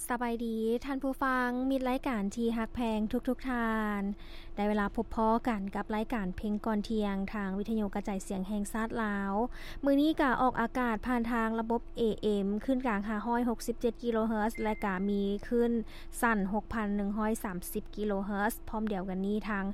ສະບາຍດີທ່ານຜູ້ຟັງ ມິດລາຍການທີ່ຮັກແພງທຸກໆທ່ານ. ໄດ້ເວລາພົບພໍ້ກັນກັບລາຍການເພງກ່ອນທ່ຽງ ທາງວິທະຍຸກະຈາຍສຽງແຫ່ງຊາດລາວ. ມື້ນີ້ກະອອກອາກາດຜ່ານທາງລະບົບ ເອເອັມ ຄື້ນກາງ ຫ້າຮ້ອຍຫົກສິບເຈັດ ກິໂລເຮີດ ແລະກະມີຄື້ນສັ້ນ ຫົກພັນໜຶ່ງຮ້ອຍສາມສິບ ກິໂລເຮີດ. ພ້ອມດຽວກັນນີ້ທາງ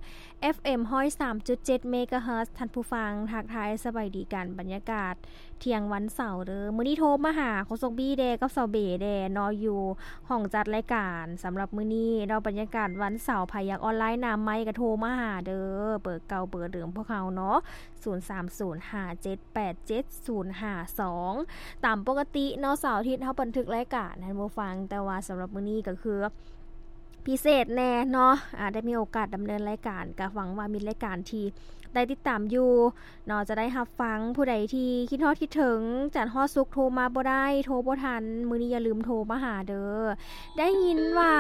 ເອັຟເອັມ ຮ້ອຍສາມຈຸດເຈັດ ເມກາເຮີດ. ທ່ານຜູ້ຟັງ ທັກທາຍສະບາຍດີກັນ ບັນຍາກາດທ່ຽງວັນເສົາເດີ. ມື້ນີ້ໂທມາຫາໂຄສົກບີແດ່ກັບສາວເບແດ່ເນາະ ຢູ່ຫ້ອງຈັດລາຍການ. ສຳລັບມື້ນີ້ເນາະ ບັນຍາກາດວັນເສົາ ໃຜຢາກອອນລາຍໜ້າໄມກະໂທມາຫາເດີ ເບີເກົ່າເບີເດີມພວກເຮົາເນາະ ສູນສາມສູນຫ້າເຈັດແປດເຈັດສູນຫ້າສອງ. ຕາມປົກກະຕິເນາະ ເສົາອາທິດເຮົາບັນທຶກລາຍການໃຫ້ຜູ້ຟັງ ແຕ່ວ່າສຳລັບມື້ນີ້ກະຄື ພິເສດແດ່ເນາະ ອາ ໄດ້ມີໂອກາດດຳເນີນລາຍການ ກະຫວັງວ່າມິດລາຍການທີ່ໄດ້ຕິດຕາມຢູ່ເນາະ ຈະໄດ້ຮັບຟັງ. ຜູ້ໃດທີ່ຄິດຮອດຄິດເຖິງ ຈັນຮອດສຸກໂທມາບໍ່ໄດ້ ໂທບໍ່ທັນ ມື້ນີ້ຢ່າລືມໂທມາຫາເດີ. ໄດ້ຍິນວ່າ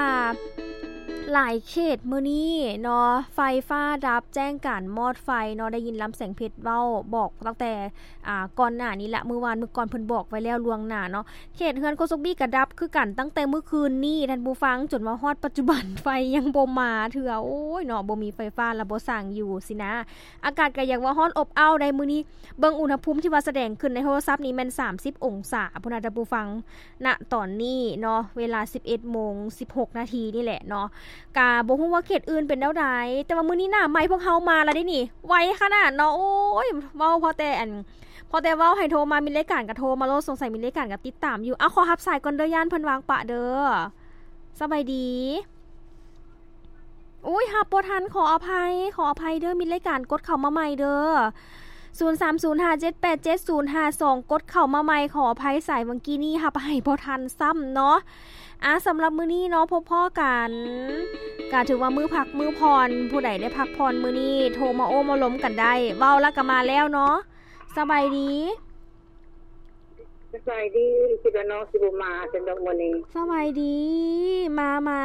ຫຼາຍເຂດມື້ນີ້ເນາະ ໄຟຟ້າດັບ ແຈ້ງການມອດໄຟເນາະ ໄດ້ຍິນລຳແສງເພັດເວົ້າ ບອກຕັ້ງແຕ່ ອາ ກ່ອນໜ້ານີ້ລະ ມື້ວານມື້ກ່ອນເພິ່ນບອກໄວ້ແລ້ວລ່ວງໜ້າເນາະ. ເຂດເຮືອນໂຄສົກບີກະດັບຄືກັນ ຕັ້ງແຕ່ມື້ຄືນນີ້ທ່ານຜູ້ຟັງ ຈົນວ່າຮອດປັດຈຸບັນໄຟຍັງບໍ່ມາເທື່ອ. ໂອ້ຍເນາະ ບໍ່ມີໄຟຟ້າລະບໍ່ສ້າງຢູ່ຊີ້ນະ. ອາກາດກະຢາກວ່າຮ້ອນອົບອ້າວໄດ໋ມື້ນີ້ ເບິ່ງອຸນຫະພູມທີ່ວ່າສະແດງຂຶ້ນໃນໂທລະສັບນີ້ແມ່ນສາມສິບອົງສາພຸ້ນນະທ່ານຜູ້ຟັງ ນະຕອນນີ້ເນາະ ເວລາສິບເອັດໂມງສິບຫົກນາທີນີ້ແຫຼະເນາະ. ກະບໍ່ຮູ້ວ່າເຂດອື່ນເປັນແນວໃດ ແຕ່ວ່າມື້ນີ້ໜ້າໄມພວກເຮົາມາລະເດ້ນີ້ ໄວຂະໜາດເນາະ. ໂອ້ຍ ເວົ້າພໍແຕ່ອັນ ພໍແຕ່ເວົ້າໃຫ້ໂທມາ ມິດລາຍການກະໂທມາໂລດ ສົງໄສມິດລາຍການກະຕິດຕາມຢູ່. ເອົາ ຂໍຮັບສາຍກ່ອນເດີ ຢ້ານເພິ່ນວາງປະເດີ. ສະບາຍດີ. ໂອ້ຍ ຮັບບໍ່ທັນ ຂໍອະໄພ ຂໍອະໄພເດີ ມິດລາຍການກົດເຂົ້າມາໃໝ່ເດີ ສູນສາມສູນຫ້າເຈັດແປດເຈັດສູນຫ້າສອງ ກົດເຂົ້າມາໃໝ່. ຂໍອະໄພ ສາຍຫວ່າງກີ້ນີ້ຮັບໃຫ້ບໍ່ທັນຊ້ຳເນາະ. ອາ ສຳລັບມື້ນີ້ເນາະ ພົບພໍ້ກັນ ກະຖືວ່າມື້ພັກມື້ຜ່ອນ ຜູ້ໃດໄດ້ພັກຜ່ອນມື້ນີ້ ໂທມາໂອ້ມາລົມກັນໄດ້. ເວົ້າລະກະມາແລ້ວເນາະ. ສະບາຍດີ. ສະບາຍດີ. ຄິດວ່ານ້ອງຊິບໍ່ມາຊັ້ນດອກມື້ນີ້. ສະບາຍດີ. ມາ ມາ.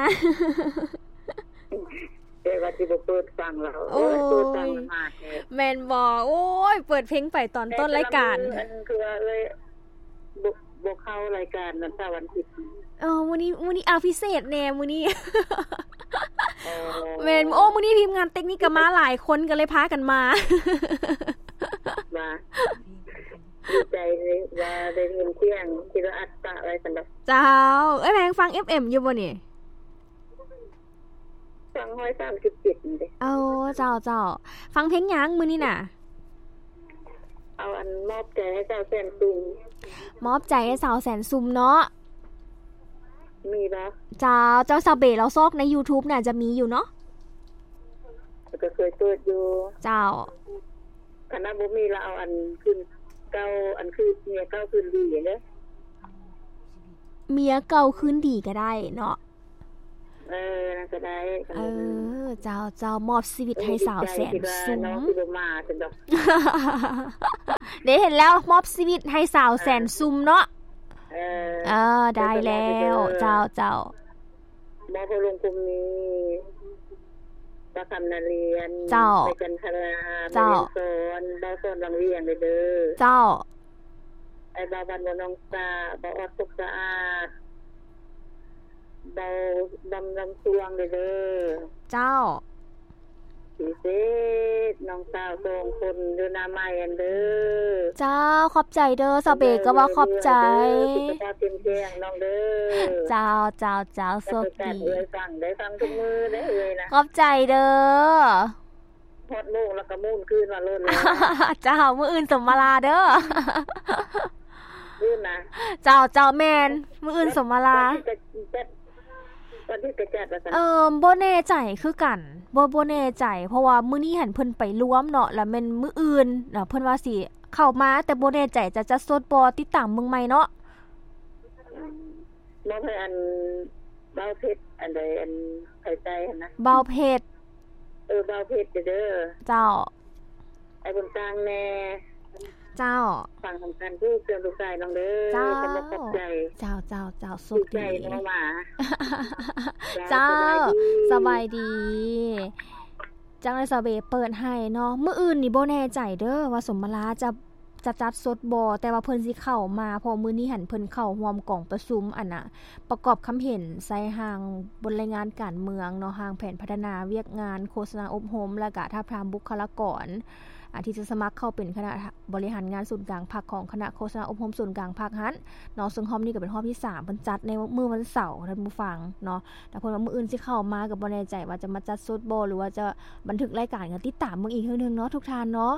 ແຕ່ວ່າຊິບໍ່ເປີດຟັງລາວ. ໂອ້ຍ ເປີດຟັງລະມາແທ້. ແມ່ນບໍ່? ໂອ້ຍ ເປີດເພງໄປຕອນຕົ້ນລາຍການ. ອັນຄືວ່າເອື້ອຍ ບໍ່ ບໍ່ເຂົ້າລາຍການວັນເສົາວັນອາທິດ. ເອີ ມື້ນີ້ ມື້ນີ້ ອາ ພິເສດແດ່ມື້ນີ້. ອໍ ແມ່ນ. ໂອ້ ມື້ນີ້ທີມງານເຕັກນິກກະມາຫຼາຍຄົນ ກະເລີຍພາກັນມາ. ວ່າ ດີໃຈເລີຍວ່າໄດ້ຍິນສຽງ ຄິດວ່າອັດປະໄວ້ຊັ້ນດອກ. ເຈົ້າ. ເອື້ອຍແພງຟັງ ເອັຟເອັມ ຢູ່ບໍ່ນີ້? ຟັງຮ້ອຍສາມສິບເຈັດນີ້ເດ້. ເອົາ ເຈົ້າ ເຈົ້າ. ຟັງເພງຫຍັງມື້ນີ້ນະ? ເອົາອັນມອບໃຈໃຫ້ສາວແສນຊຸ່ມ. ມອບໃຈໃຫ້ສາວແສນຊຸ່ມເນາະ. ມີບໍ່? ເຈົ້າ ເຈົ້າ ສາວເບລາວຊອກໃນຢູທູບນະ ຈະມີຢູ່ເນາະ. ກະເຄີຍເປີດຢູ່. ເຈົ້າ. ຄັນວ່າບໍ່ມີລະເອົາອັນຄືນເກົ່າ ອັນຄືເມຍເກົ່າຄືນດີເດີ. ເມຍເກົ່າຄືນດີກະໄດ້ເນາະ. ເອີ ນັ້ນກະໄດ້. ເອີ ເຈົ້າ ເຈົ້າ ມອບຊີວິດໃຫ້ສາວແສນຊຸ່ມ. ເດ້ ເຫັນແລ້ວ ມອບຊີວິດໃຫ້ສາວແສນຊຸ່ມເນາະ. ເອີ ເອີ ໄດ້ແລ້ວ. ເຈົ້າ ເຈົ້າ. ມອບໃຫ້ລຸງພູມມີ ປ້າຄຳນາລຽນ. ເຈົ້າ. ໄປຈັນທະລາ. ເຈົ້າ. ແມ່ວຽງສອນ ບ່າວສອນວັງວຽງເດີ. ເຈົ້າ. ອ້າຍບ່າວບ້ານບົວໜອງສາ ບ່າວອອດສຸກສະອາດ ບ່າວດຳລຳຊວງເດີ. ເຈົ້າ. ພິເສດນ້ອງສາວສອງຄົນຢູ່ໜ້າໄມຫັ້ນເດີ. ເຈົ້າ ຂອບໃຈເດີ ສາວເບກະວ່າຂອບໃຈ. ສຸຂະພາບເຂັ້ມແຂງນ້ອງເດີ. ເຈົ້າ ເຈົ້າ ເຈົ້າ ໂຊກດີ. ໄດ້ຟັງ ໄດ້ຟັງທຸກມື້ເດີເອື້ອຍນະ. ຂອບໃຈເດີ. ຮອດໂມງແລ້ວກະໝູນຄືນມາໂລດແລ້ວ. ເຈົ້າ ມື້ອື່ນສົມມາລາເດີ. ມື້ນະ. ເຈົ້າ ເຈົ້າ ແມ່ນ ມື້ອື່ນສົມມາລາ. ວັນທີເຈັດ ວັນທີເຈັດວ່າຊັ້ນ. ເອີ ບໍ່ແນ່ໃຈຄືກັນ ບໍ່ ບໍ່ແນ່ໃຈ ເພາະວ່າມື້ນີ້ຫັ້ນເພິ່ນໄປລວມເນາະ ລະແມ່ນມື້ອື່ນ ລະເພິ່ນວ່າຊິເຂົ້າມາ ແຕ່ບໍ່ແນ່ໃຈຈະຈັດສົດບໍ່ ຕິດຕາມເບິ່ງໃໝ່ເນາະ. ມອບໃຫ້ອັນບ່າວເພັດ ອັນໃດ ອັນໄປໃຕ້ຫັ້ນນະ ບ່າວເພັດ. ເອີ ບ່າວເພັດເດີ. ເຈົ້າ. ໄອ້ບຸນຕ່າງແດ່. ເຈົ້າ. ຟັງນຳກັນເດີ ເຄື່ອງລູກຊາຍນ້ອງເດີ. ເຈົ້າ. ຂອບໃຈ. ເຈົ້າ ເຈົ້າ ເຈົ້າ ໂຊກດີ. ເຈົ້າ. ສະບາຍດີ. ຈັ່ງໃດສາວເບເປີດໃຫ້ເນາະ ມື້ອື່ນນີ້ບໍ່ແນ່ໃຈເດີວ່າສົມມາລາຈະ ຈະຈັດສົດບໍ່ ແຕ່ວ່າເພິ່ນຊິເຂົ້າມາ ເພາະມື້ນີ້ຫັ້ນເພິ່ນເຂົ້າຮ່ວມກອງປະຊຸມ ອັນນ່າ ປະກອບຄຳເຫັນໃສ່ຮ່າງບົດລາຍງານການເມືອງເນາະ, ຮ່າງແຜນພັດທະນາວຽກງານໂຄສະນາອົບຮົມ ແລະກະທາບທາມບຸກຄະລາກອນ ອາ ທີ່ຈະສະໝັກເຂົ້າເປັນຄະນະບໍລິຫານງານສູນກາງພັກຂອງຄະນະໂຄສະນາອົບຮົມສູນກາງພັກຫັ້ນເນາະ. ເຊິ່ງຮອບນີ້ກໍເປັນຮອບທີສາມ ເພິ່ນຈັດໃນມື້ວັນເສົາ ທ່ານຜູ້ຟັງເນາະ. ແຕ່ເພິ່ນວ່າມື້ອື່ນຊິເຂົ້າມາ ກໍບໍ່ແນ່ໃຈວ່າຈະມາຈັດສົດບໍ່ ຫຼືວ່າຈະບັນທຶກລາຍການ ກໍຕິດຕາມເບິ່ງອີກເທື່ອໜຶ່ງເນາະ ທຸກທ່ານເນາະ.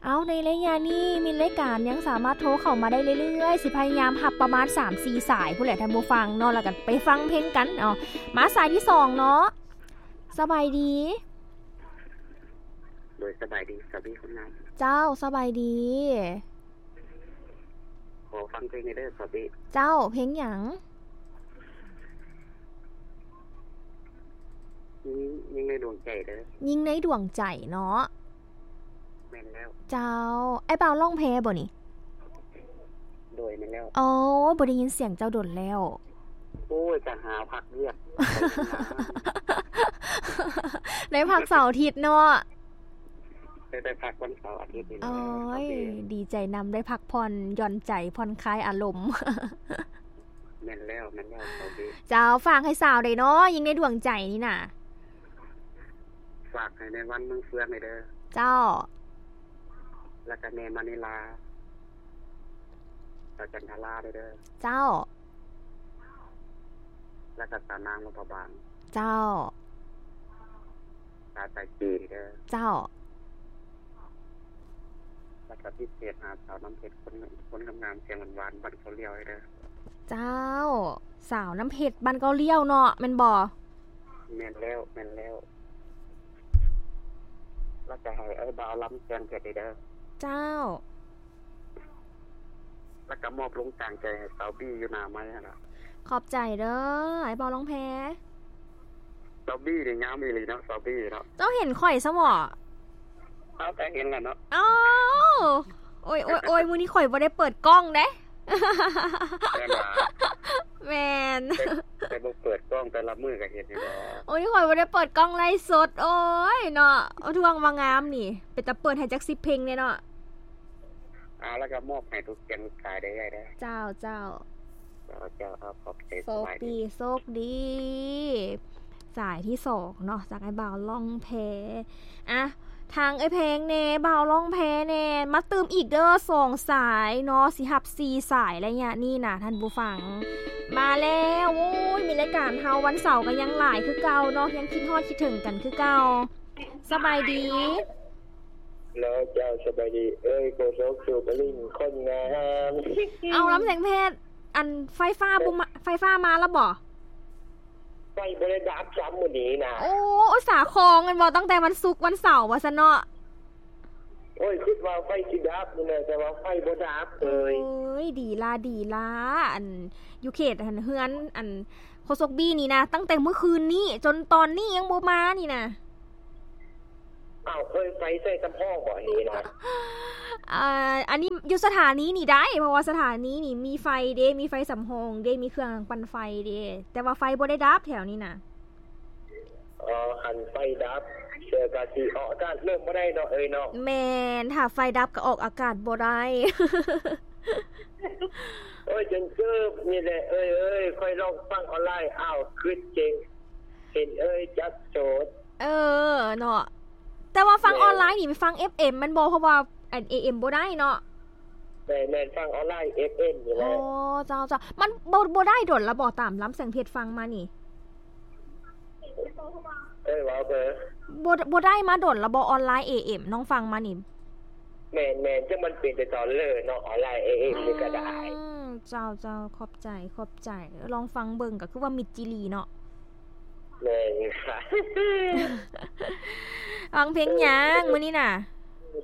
ເອົາ ໃນໄລຍະນີ້ມິດລາຍການຍັງສາມາດໂທເຂົ້າມາໄດ້ເລື້ອຍໆ, ຊິພະຍາຍາມຮັບປະມານສາມສີ່ສາຍພຸ້ນແຫຼະທ່ານຜູ້ຟັງເນາະ, ແລ້ວກໍໄປຟັງເພງກັນ. ເອົາ ມາສາຍທີສອງເນາະ. ສະບາຍດີ. ໂດຍ ສະບາຍດີ ສາວບີຄົນງາມ. ເຈົ້າ ສະບາຍດີ. ຂໍຟັງເພງແດ່ເດີ ສາວບີ. ເຈົ້າ ເພງຫຍັງ? ຍິງ ຍິງໃນດວງໃຈເດີ. ຍິງໃນດວງໃຈເນາະ. ແມ່ນແລ້ວ. ເຈົ້າ ອ້າຍບ່າວລ້ອງແພບໍ່ນີ້? ໂດຍ ແມ່ນແລ້ວ. ໂອ້ຍ ບໍ່ໄດ້ຍິນສຽງເຈົ້າດົນແລ້ວ. ໂອ້ຍ ຈະຫາພັກວຽກ ໄດ້ພັກເສົາອາທິດເນາະ. ໄດ້ ໄດ້ພັກວັນເສົາອາທິດນີ້ແຫຼະ. ໂອ້ຍ ດີໃຈນຳ ໄດ້ພັກຜ່ອນຢ່ອນໃຈ ຜ່ອນຄາຍອາລົມ. ແມ່ນແລ້ວ ແມ່ນແລ້ວ ສາວບີ. ເຈົ້າ ຝາກໃຫ້ສາວໄດ້ເນາະ ຍິງໃນດວງໃຈນີ້ນະ. ຝາກໃຫ້ແມ່ວັນເມືອງເຟືອງແດ່ເດີ. ເຈົ້າ. ແລ້ວກໍແມ່ມະນີລາ ສາວຈັນທະລາແດ່ເດີ. ເຈົ້າ. ແລ້ວກໍສາວນາງລົມພະບາງ. ເຈົ້າ. ສາວສາຍຈີນເດີ. ເຈົ້າ. ແລ້ວກໍພິເສດຫາສາວນ້ຳເພັດ ຄົນ ຄົນງາມໆ ສຽງຫວານໆ ບ້ານເຂົາລ້ຽວເດີ. ເຈົ້າ ສາວນ້ຳເພັດ ບ້ານເຂົາລ້ຽວເນາະ ແມ່ນບໍ່? ແມ່ນແລ້ວ ແມ່ນແລ້ວ. ແລ້ວກໍໃຫ້ອ້າຍບ່າວລຳແສງເພັດເດີ. ເຈົ້າ. ແລ້ວກໍມອບລົງກາງໃຈໃຫ້ສາວບີຢູ່ໜ້າໄມຫັ້ນລະ. ຂອບໃຈເດີ ອ້າຍບ່າວລ້ອງແພ. ສາວບີນີ້ງາມອີ່ຫຼີເນາະ ສາວບີເນາະ. ເຈົ້າເຫັນຂ້ອຍຊະບໍ? ເອົາ ກໍເຫັນລະເນາະ. ໂອ້ ໂອ້ຍ ໂອ້ຍ ໂອ້ຍ ມື້ນີ້ຂ້ອຍບໍ່ໄດ້ເປີດກ້ອງເດ້. ແມ່ນຫວາ? ແມ່ນ. ແຕ່ ແຕ່ບໍ່ເປີດກ້ອງ ແຕ່ລະມື້ກໍເຫັນຢູ່ດອກ. ໂອ້ຍ ຂ້ອຍບໍ່ໄດ້ເປີດກ້ອງໄລສົດ. ໂອ້ຍເນາະ ເອົາ ທວງວ່າງາມນີ້ ເປັນຕາເປີດໃຫ້ຈັກສິບເພງແດ່ເນາະ. ເອົາ ແລ້ວກໍມອບໃຫ້ທຸກເສຍງທຸກສາຍເດີເອື້ອຍເດີ. ເຈົ້າ ເຈົ້າ. ເຈົ້າ ເຈົ້າ. ເອົາ ຂອບໃຈ. ໂຊກດີ ສະບາຍດີ. ໂຊກດີ. ສາຍທີສອງເນາະ ຈາກອ້າຍບ່າວລ້ອງແພ. ອ່ະ ທາງເອື້ອຍແພງແດ່ ບ່າວລ້ອງແພແດ່ ມາຕື່ມອີກເດີ ສອງສາຍເນາະ ຊິຮັບສີ່ສາຍໄລຍະນີ້ນະທ່ານຜູ້ຟັງ. ມາແລ້ວ. ໂອ້ຍ ມີລາຍການເຮົາວັນເສົາກໍຍັງຫຼາຍຄືເກົ່າເນາະ ຍັງຄິດຮອດຄິດເຖິງກັນຄືເກົ່າ. ສະບາຍດີ. ເນາະ ເຈົ້າ ສະບາຍດີເອີຍ ໂຄສົກສຸກລິນຄົນງາມ. ເອົາ ລຳແສງເພັດ ອັນ ໄຟຟ້າບໍ່ມາ ໄຟຟ້າມາແລ້ວບໍ່? ໄຟບໍ່ໄດ້ດັບຊ້ຳມື້ນີ້ນະ. ໂອ້ ອຸດສາຄອງແມ່ນບໍ່? ຕັ້ງແຕ່ວັນສຸກວັນເສົາວ່າຊັ້ນເນາະ. ໂອ້ຍ ຄິດວ່າໄຟຊິດັບນີ້ແຫຼະ ແຕ່ວ່າໄຟບໍ່ດັບເລີຍ. ໂອ້ຍ ດີລະ ດີລະ. ອັນ ຢູ່ເຂດ ອັນ ເຮືອນ ອັນ ໂຄສົກບີນີ້ນະ ຕັ້ງແຕ່ມື້ຄືນນີ້ຈົນຕອນນີ້ຍັງບໍ່ມານີ້ນະ. ອ້າວ ເຄີຍໄຟໃສ່ສຳຮອງບໍ່ອັນນີ້ນະ? ອ່າ ອັນນີ້ຢູ່ສະຖານີນີ້ໄດ້ ເພາະວ່າສະຖານີນີ້ມີໄຟເດ້ ມີໄຟສຳຮອງເດ້ ມີເຄື່ອງປັ່ນໄຟເດ້ ແຕ່ວ່າໄຟບໍ່ໄດ້ດັບແຖວນີ້ນະ. ອໍ ຄັນໄຟດັບ ເສືອກະຊິອອກອາກາດລົມບໍ່ໄດ້ເນາະເອີຍເນາະ. ແມ່ນ ຖ້າໄຟດັບກໍອອກອາກາດບໍ່ໄດ້. ໂອ້ຍ ຈົນເກີບນີ້ແຫຼະເອີຍເອີຍ ຂ້ອຍລອງຟັງອອນລາຍ ອ້າວ ຄຶດເຈັງ ເຫັນເອີຍຈັກໂສດ. ເອີ ເນາະ ແຕ່ວ່າຟັງ ແມ່ນ ອອນລາຍນີ້ໄປຟັງເອັຟເອັມແມ່ນບໍ່? ເພາະວ່າອັນເອເອັມບໍ່ໄດ້ເນາະ. ແມ່ນໆ ຟັງອອນລາຍເອັຟເອັມນີ້ແຫຼະ. ອໍ ເຈົ້າໆ ມັນບໍ່ ບໍ່ໄດ້ດົນລະບໍ່? ຕາມລຳແສງເພັດຟັງມານີ້ ເອີ ເວົ້າເບີ ບໍ່ ບໍ່ໄດ້ມາດົນລະບໍ່? ອອນລາຍເອເອັມນ້ອງຟັງມານີ້. ແມ່ນໆ ຈັກມັນເປັນແຕ່ຕອນເລີເນາະ ອອນລາຍເອເອັມນີ້ກໍໄດ້. ອືມ ເຈົ້າໆ ຂອບໃຈ ຂອບໃຈ ລອງຟັງເບິ່ງ ກໍຄືວ່າມິດຈີ່ຫຼີເນາະ. ແມ່ນ ຟັງເພງຫຍັງ ເອີ ມື້ນີ້ນະ?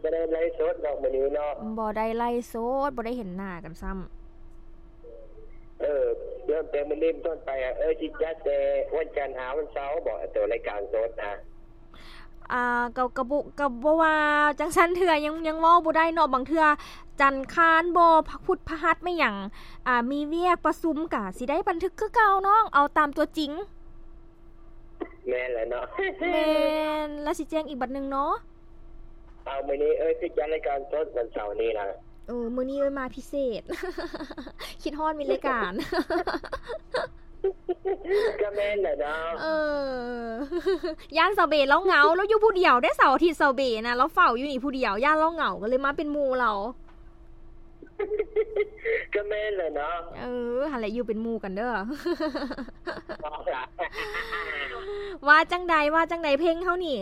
ບໍ່ໄດ້ໄລຟ໌ສົດດອກມື້ນີ້ເນາະ. ບໍ່ໄດ້ໄລຟ໌ສົດ ບໍ່ໄດ້ເຫັນໜ້າກັນຊ້ຳ. ເອີ ເລີ່ມແຕ່ມື້ນີ້ເປັນຕົ້ນໄປ ເອີ ຊິຈັດແຕ່ວັນຈັນຫາວັນເສົາບໍ ໂຕລາຍການສົດນະ? ອ່າ ກໍ ກໍບໍ່ ກໍບໍ່ວ່າຈັ່ງຊັ້ນເທື່ອ ຍັງ ຍັງເວົ້າບໍ່ໄດ້ເນາະ. ບາງເທື່ອຈັນຄານບໍ ພະ ພຸດພະຫັດແມ່ນຫຍັງ ອ່າ ມີວຽກປະຊຸມ ກະຊິໄດ້ບັນທຶກຄືເກົ່ານ້ອງ ເອົາຕາມຕົວຈິງ. ແມ່ນແຫຼະເນາະ. ແມ່ນ ແລ້ວຊິແຈ້ງອີກບັດໜຶ່ງເນາະ. ເອົາ ມື້ນີ້ ເອີຍ ຊິຈັດລາຍການສົດວັນເສົານີ້ນະ. ໂອ້ ມື້ນີ້ເອີ້ຍມາພິເສດ ຄິດຮອດມີລາຍການ ກໍແມ່ນແຫຼະເນາະ ເອີ ຢ້ານສາວເບລາວເຫງົາ ລາວຢູ່ຜູ້ດຽວເດ້ ເສົາອາທິດສາວເບນະ ລາວເຝົ້າຢູ່ນີ້ຜູ້ດຽວ ຢ້ານລາວເຫງົາ ກໍເລີຍມາເປັນໝູ່ລາວ ກໍແມ່ນແຫຼະເນາະ ເອີ ຫັ້ນແຫຼະ ຢູ່ເປັນໝູ່ກັນເດີ ວ່າຈັ່ງໃດ ວ່າຈັ່ງໃດ ເພງເຮົານີ້?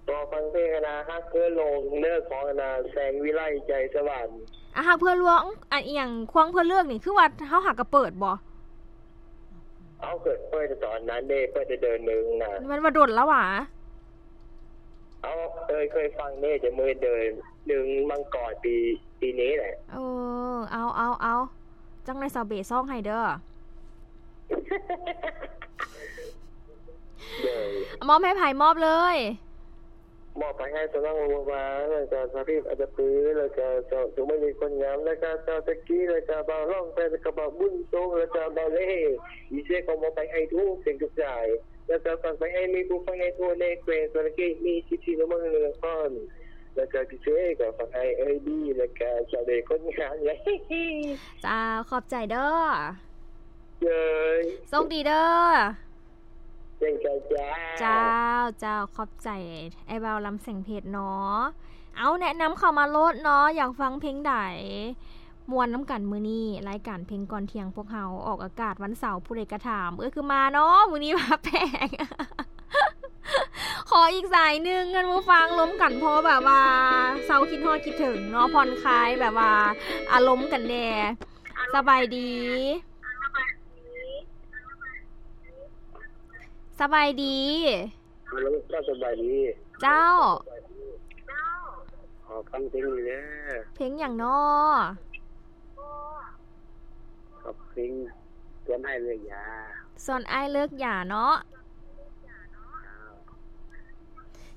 ກໍຟັງເພງອັນນ່າ ຮັກເພື່ອຫຼົງເດີ ຂອງອັນນ່າ ແສງວິໄລ ໃຈສະຫວັນ ອາ ຮັກເພື່ອຫຼວງ ອັນອີ່ຫຍັງ ຄວາງເພື່ອເລີກນີ້ ຄືວ່າເຮົາຫາກະເປີດບໍ່? ເອົາ ເປີດ ເປີດຕອນນັ້ນເດ້ ເປີດໄດ້ເດືອນໜຶ່ງນະ ແມ່ນວ່າດົນແລ້ວຫວາ? ເອົາ ເອີຍ ເຄີຍຟັງເດ້ ແຕ່ມື້ເດືອນໜຶ່ງມັງກອນປີ ປີນີ້ແຫຼະ ເອີ ເອົາ ເອົາ ເອົາ ຈັ່ງໃດສາວເບຊອງໃຫ້ເດີ ໂດຍ ມອບໃຫ້ໃຜ? ມອບເລີຍ ມອບໄປໃຫ້ສາວນ້ອງບົວບານ ແລ້ວກະສາວທິບອັດຕະປື ແລ້ວກະສາວສຸມາລີຄົນງາມ ແລ້ວກະສາວຕະກີ້ ແລ້ວກະບ່າວລ້ອງແປ ແລ້ວກະບ່າວບຸນສົງ ແລ້ວກະບ່າວເລ ດີເຈ ຂໍມອບໄປໃຫ້ທຸກເສຍງທຸກສາຍ ແລ້ວກະຝາກໄປໃຫ້ແມ່ຜູ້ຟັງໃນທົ່ວແນແຂວງສະຫວັນນະເຂດ ມີສິບສີ່ ນະຄອນ ແລ້ວກະພິເສດກໍຝາກໃຫ້ເອື້ອຍບີ ແລ້ວກະສາວເດຄົນງາມ ເຈົ້າ ຂອບໃຈເດີ ເຈົ້າ ໂຊກດີເດີ ເຊັ່ນກັນເຈົ້າ ເຈົ້າ ເຈົ້າ ຂອບໃຈອ້າຍບ່າວລຳແສງເພັດເນາະ ເອົາ ແນະນຳເຂົ້າມາໂລດເນາະ ຢາກຟັງເພງໃດ? ມ່ວນນຳກັນມື້ນີ້ ລາຍການເພງກ່ອນທ່ຽງພວກເຮົາອອກອາກາດວັນເສົາ ຜູ້ໃດກະຖາມ ເອີ ຄືມາເນາະ ມື້ນີ້ມາແປກ ຂໍອີກສາຍໜຶ່ງ ທ່ານຜູ້ຟັງ ລົມກັນ ພໍແບບວ່າເຊົາຄິດຮອດຄິດເຖິງເນາະ ຜ່ອນຄາຍແບບວ່າອາລົມກັນແດ່ ສະບາຍດີ ສະບາຍດີ ຮັລໂຫຼ ເຈົ້າ ສະບາຍດີ ເຈົ້າ ຂໍຟັງເພງນີ້ເດີ ເພງຫຍັງນໍ? ເພງຊວນອ້າຍເລີກຢາ ຊວນອ້າຍເລີກຢາເນາະ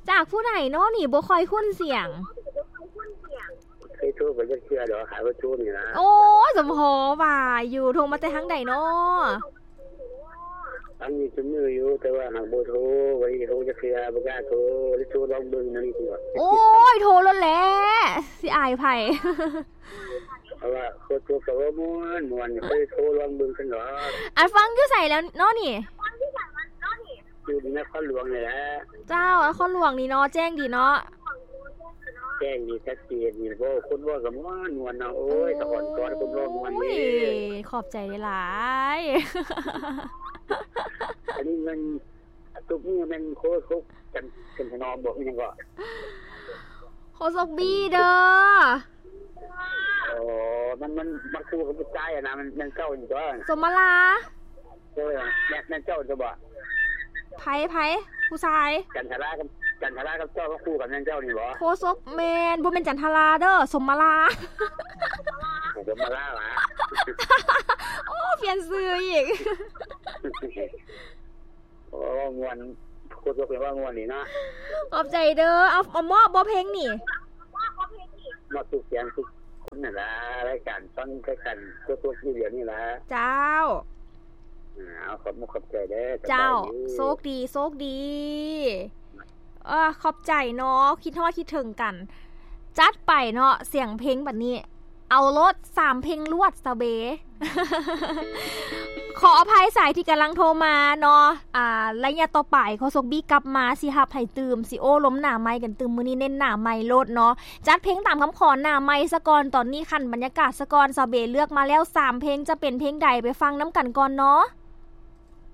ຈາກຜູ້ໃດນໍນີ້ ບໍ່ຄ່ອຍຄຸ້ນສຽງ ເຄີຍໂທໄປຈັກເທື່ອດອກ ຫາເບີໂທນີ້ລະ ໂອ້ຍ ສົມພໍວ່າຢູ່ ໂທມາແຕ່ທາງໃດນໍ? ຟັງຢູ່ຊຸມື້ຢູ່ ແຕ່ວ່າຫາກບໍ່ໂທ ບໍ່ໄດ້ໂທຈັກເທື່ອ ບໍ່ກ້າໂທ ໄດ້ໂທລອງເບິ່ງມື້ນີ້ ໂອ້ຍ ໂທໂລດແຫຼະ ຊິອາຍໃຜ ເພາະວ່າໂຄຕົວກະບໍ່ມ່ວນ ມ່ວນ ເຄີຍໂທລອງເບິ່ງຊັ້ນດອກ ອັນຟັງຢູ່ໃສແລ້ວນໍນີ້? ຢູ່ນະຄອນຫຼວງນີ້ແຫຼະ ເຈົ້າ ນະຄອນຫຼວງນີ້ເນາະ ແຈ້ງດີເນາະ ແຈ້ງດີ ຊັດເຈນດີ ເວົ້າ ຄົນເວົ້າກະມ່ວນໆ ເນາະ ໂອ້ຍ ສະອອນກອນ ຄົນເວົ້າມ່ວນເດ້ ໂອ້ຍ ຂອບໃຈຫຼາຍໆ ອັນນີ້ແມ່ນ ທຸກມື້ແມ່ນໂຄສົກ ຈັນ ຈັນທະນອມບໍ ອີຫຍັງເກາະ ໂຄສົກບີເດີ ອໍ ມັນ ມັນ ມັນຄູ່ກັບຜູ້ຊາຍຫັ້ນນະ ແມ່ນ ແມ່ນເຈົ້ານີ້ຕົວະ ສົມມາລາ ເອີ ແມ່ນ ແມ່ນເຈົ້າຕົວະບໍ ໃຜ ໃຜ ຜູ້ຊາຍ ຈັນທະລາກັບ ຈັນທະລາກັບເຈົ້າມາຄູ່ກັນ ແມ່ນເຈົ້ານີ້ບໍ ໂຄສົກ ແມ່ນ ບໍ່ແມ່ນຈັນທະລາເດີ ສົມມາລາ ສົມມາລາຫວາ ໂອ້ ປ່ຽນຊື່ອີກ. ໂອ້ ມ່ວນ ໂຄຕົວເປັນວ່າມ່ວນນີ້ເນາະ ຂອບໃຈເດີ ເອົາ ເອົາມອບບໍ່ເພງນີ້ ມອບທຸກສຽງທຸກຄົນຫັ້ນລະ ລາຍການຟັງຄືກັນ ໂຄຕົວຢູ່ດຽວນີ້ລະ ເຈົ້າ ເອົາ ຂອບມຸກຂອບໃຈເດີ ເຈົ້າ ໂຊກດີ ໂຊກດີ. ເອີ ຂອບໃຈເນາະ ຄິດຮອດຄິດເຖິງກັນ ຈັດໄປເນາະ ສຽງເພງບັດນີ້ ເອົາໂລດສາມເພງລວດ ສາວເບ ຂໍອະໄພສາຍທີ່ກຳລັງໂທມາເນາະ ອ່າ ໄລຍະຕໍ່ໄປ ໂຄສົກບີກັບມາ ຊິຮັບໃຫ້ຕື່ມ ຊິໂອ້ລົມໜ້າໄມກັນຕື່ມ ມື້ນີ້ເນັ້ນໜ້າໄມໂລດເນາະ ຈັດເພງຕາມຄຳຂໍໜ້າໄມສະກ່ອນ ຕອນນີ້ຂັ້ນບັນຍາກາດສະກ່ອນ ສາວເບເລືອກມາແລ້ວສາມເພງ ຈະເປັນເພງໃດ ໄປຟັງນຳກັນກ່ອນເນາະ.